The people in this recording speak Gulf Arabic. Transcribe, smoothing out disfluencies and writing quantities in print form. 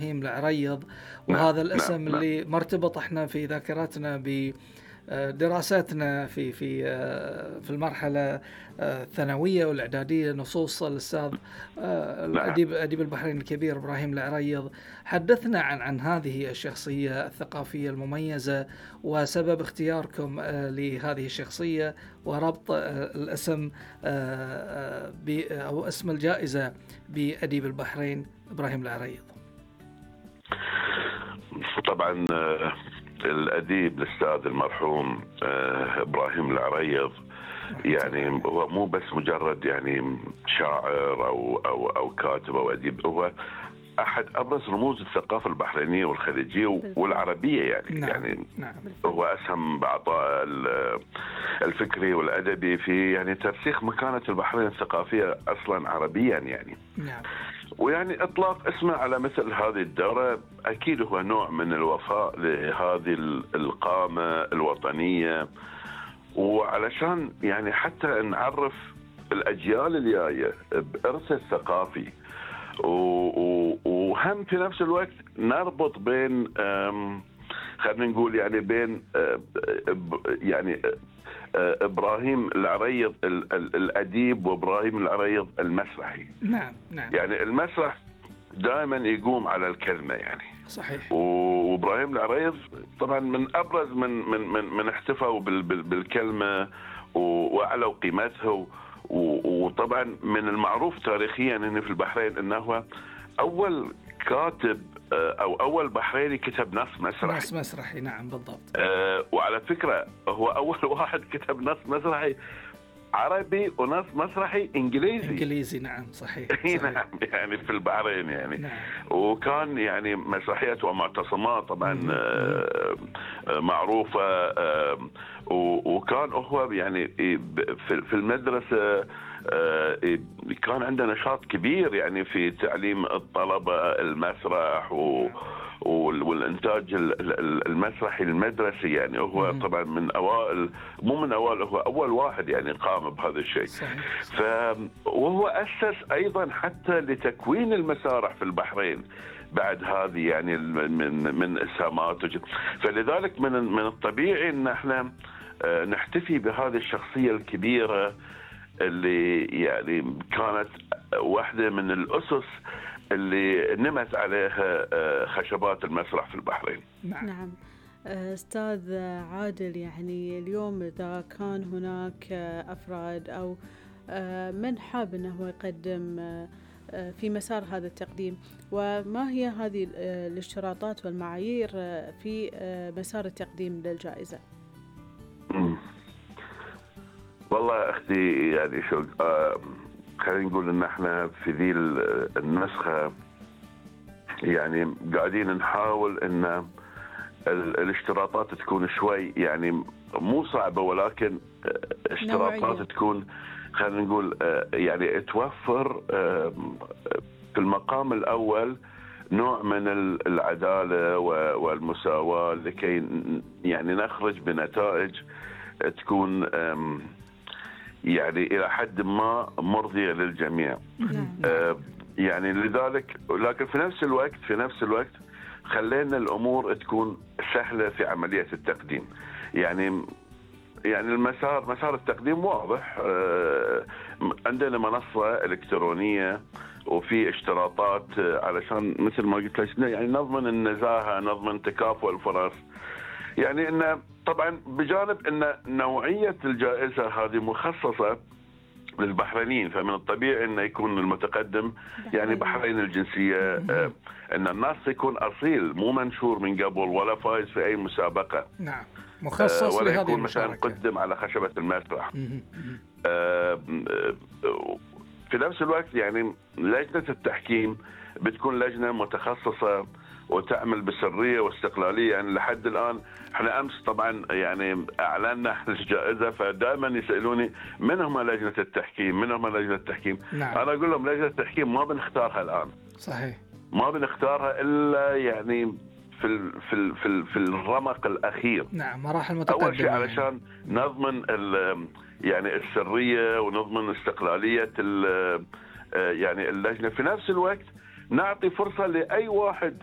إبراهيم العريض، نعم وهذا نعم الاسم نعم اللي مرتبط احنا في ذاكرتنا بدراستنا في المرحلة الثانوية والإعدادية، نصوص الأستاذ نعم. أديب البحرين الكبير إبراهيم العريض. حدثنا عن هذه الشخصية الثقافية المميزة وسبب اختياركم لهذه الشخصية وربط الاسم أو اسم الجائزة بأديب البحرين إبراهيم العريض. طبعا الأديب الأستاذ المرحوم إبراهيم العريض يعني هو مو بس مجرد يعني شاعر أو كاتب أو أديب، هو أحد أبرز رموز الثقافة البحرينية والخليجية والعربية يعني. نعم. يعني نعم. هو أسهم بعطاء الفكري والأدبي في يعني ترسيخ مكانة البحرين الثقافية أصلا عربيا يعني. نعم. ويعني إطلاق اسمه على مثل هذه الدورة أكيد هو نوع من الوفاء لهذه القامة الوطنية، وعلشان يعني حتى نعرف الأجيال الجاية بإرث الثقافي، وهم في نفس الوقت نربط بين خلينا نقول يعني بين يعني إبراهيم العريض الأديب وإبراهيم العريض المسرحي. نعم. نعم. يعني المسرح دائما يقوم على الكلمة يعني. صحيح. وإبراهيم العريض طبعا من أبرز من احتفوا بالكلمة وأعلوا قيمتها. وطبعا من المعروف تاريخيا أنه في البحرين أنه أول كاتب أو أول بحريني كتب نص مسرحي. نص مسرحي. نعم بالضبط. وعلى فكرة هو أول واحد كتب نص مسرحي عربي ونص مسرحي إنجليزي. نعم صحيح. نعم يعني في البحرين يعني. نعم. وكان يعني مسرحيات ومعتصمات طبعا معروفة. وكان هو يعني في المدرسة كان عنده نشاط كبير يعني في تعليم الطلبة المسرح والإنتاج المسرحي المدرسي يعني. هو طبعا من أوائل، مو من أوائل، هو أول واحد يعني قام بهذا الشيء. وهو أسس أيضا حتى لتكوين المسارح في البحرين بعد هذه يعني من إسهاماته. فلذلك من الطبيعي أن احنا نحتفي بهذه الشخصية الكبيرة اللي يعني كانت واحدة من الأسس اللي نمت عليها خشبات المسرح في البحرين. نعم. أستاذ عادل، يعني اليوم إذا كان هناك أفراد أو من حاب أنه يقدم في مسار هذا التقديم، وما هي هذه الاشتراطات والمعايير في مسار التقديم للجائزة؟ والله أختي يعني شو خلينا نقول إن احنا في ذي النسخة يعني قاعدين نحاول إن الاشتراطات تكون شوي يعني مو صعبة، ولكن اشتراطات نوعية. تكون خلينا نقول يعني توفر في المقام الأول نوع من العدالة والمساواة لكي يعني نخرج بنتائج تكون يعني إلى حد ما مرضية للجميع. يعني لذلك، لكن في نفس الوقت خلينا الأمور تكون سهلة في عملية التقديم. يعني مسار التقديم واضح. عندنا منصة إلكترونية وفي اشتراطات علشان مثل ما قلت لك يعني نضمن النزاهة، نضمن تكافؤ الفرص. يعني إن طبعا بجانب إن نوعية الجائزة هذه مخصصة للبحرينيين، فمن الطبيعي إنه يكون المتقدم يعني بحرين الجنسية، إن الناس يكون أصيل مو منشور من قبل ولا فايز في أي مسابقة. نعم. مخصص ولا لهذه يكون مثلا المشاركة. قدم على خشبة المسرح. في نفس الوقت يعني لجنة التحكيم بتكون لجنة متخصصة وتعمل بسرية واستقلالية. يعني لحد الآن احنا أمس طبعا يعني أعلنا الجائزة، فدائما يسألوني من هم لجنة التحكيم. نعم. أنا أقول لهم لجنة التحكيم ما بنختارها الآن. صحيح. ما بنختارها إلا يعني في الرمق الأخير. نعم. مراحل متقدمة. أول شيء علشان نضمن يعني السرية ونضمن استقلالية يعني اللجنة. في نفس الوقت نعطي فرصة لأي واحد